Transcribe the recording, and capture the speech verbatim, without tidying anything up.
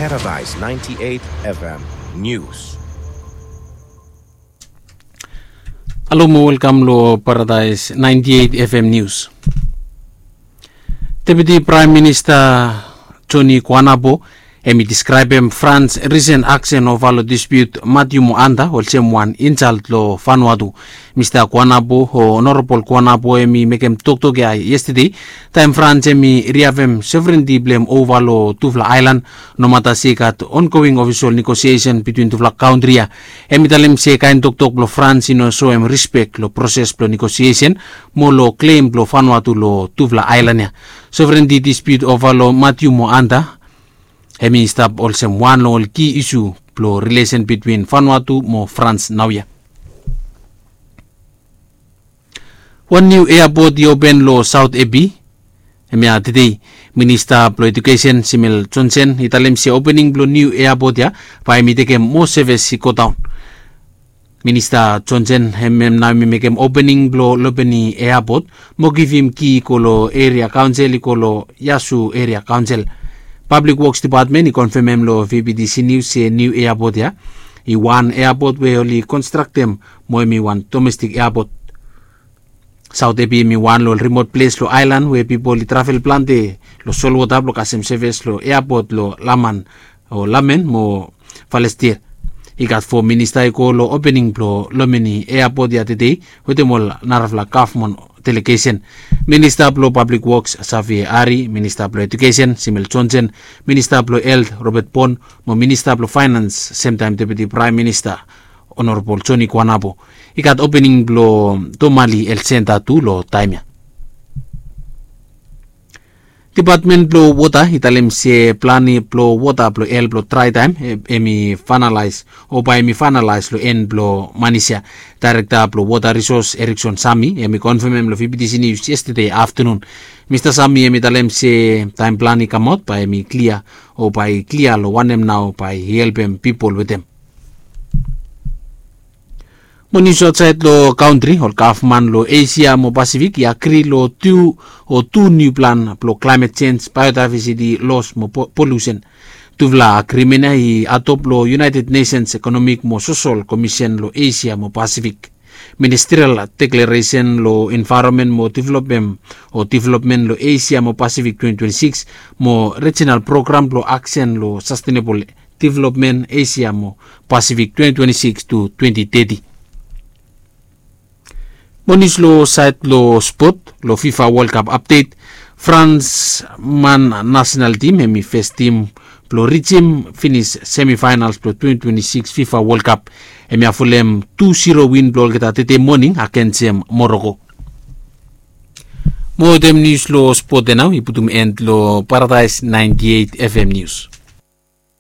Paradise ninety-eight F M News. Halo mo welkam lo Paradise ninety-eight F M News. Deputi Praem Minista Joni Kuanabo hem i diskraebem Frans risen aksen ova lo dispiut Matiu mo Anda olsem wan insalt lo Vanuatu. Mista Kuanabo o Honorabol Kuanabo hem i mekem toktok ya yestede taem Frans hem i riavem sovrenti blong hem ova lo tufala aelan, nomata se i gat ongoing ofisol negosiesen bitwin tufala kantri ya. Hem i talem se kaen toktok blong Frans i no soem rispek lo proses blong negosiesen mo lo klem blong Vanuatu lo tufala aelan ya. Sovrenti dispiut ova lo Matiu mo Anda hem i stap olsem wan long ol ki isu blong rilesen bitwin Vanuatu mo Frans naoia. Wan niu eapot i open lo Saot Epi hemia tedei. Minista blong Edukesen Simel Jonsen i talem se opening blong niu eapot ya bae hem i tekem moa sevis i godaon. Minista Jonsen hem nao hem i mekem opening blong Lopeni eapot mo givim ki i go lo eria kaonsel i go lo Yasu Eria Kaonsel. Pablik Woks Dipatmen i konfemem lo V B T C Nius se niu eapot ya i wan eapot we oli konstraktem mo hem i wan domestik eapot. Saot Epi hem i wan lo ol rimot ples lo aelan we pipol i travel plante lo solwota blong kasem sevis lo eapot lo Laman o Lamen mo Falestir. I gat fo minista i go lo opening blong Lomeni eapot ya tedei wetem ol narafala gavman delegesen. Minista blong Pablik Woks Savie Ari, Minista blong Edukesen Simel Jonsen, Minista blong Helt Robet Bon mo Minista blong Faenans semtaem Deputi Praem Minista Honorabol Joni Kuanabo. I gat opening blong Tomali Helt Senta tu lo taem ya. Dipatmen blong Wota i talem se plan blong wota blong hel blong draetaem hem i faenalaes o bae hem i faenalaes lo en blong manis ya. Daerekta blong Wota Risos Erikson Sami hem i konfemem lo V B T C Nius yestede aftanun. Mista Sami hem i talem se taem plan i kamaot bae hem i klia o bae i klia lo wanem nao bae i helpem pipol wetem. Mo nius aotsaed lo kantri, ol gavman lo Esia mo Pasifik i agri lo tu o tu niu plan blong klaemet jenj, baeodaevesiti los mo polusen. Tufala agrimen ya i adop lo United Nations Ekonomik mo Sosol Komisen lo Esia mo Pasifik. Ministrial deklaresen lo envaeronmen mo developmen o developmen lo Esia mo Pasifik twenty twenty-six mo rejinal program blong aksen lo sastenebol developmen Esia mo Pasifik twenty twenty-six to twenty thirty. Mo nius lo saed lo spot lo FIFA World Cup apdet. Frans man nasenal tim hem i fes tim blong rijim finis semifaenals blong twenty twenty-six FIFA World Cup. Hem i avolem tu zero win blong olgeta tede moning agensem Moroko. Mo wetem nius lo spot ya nao i putum en lo Paradaes ninety-eight F M Nius.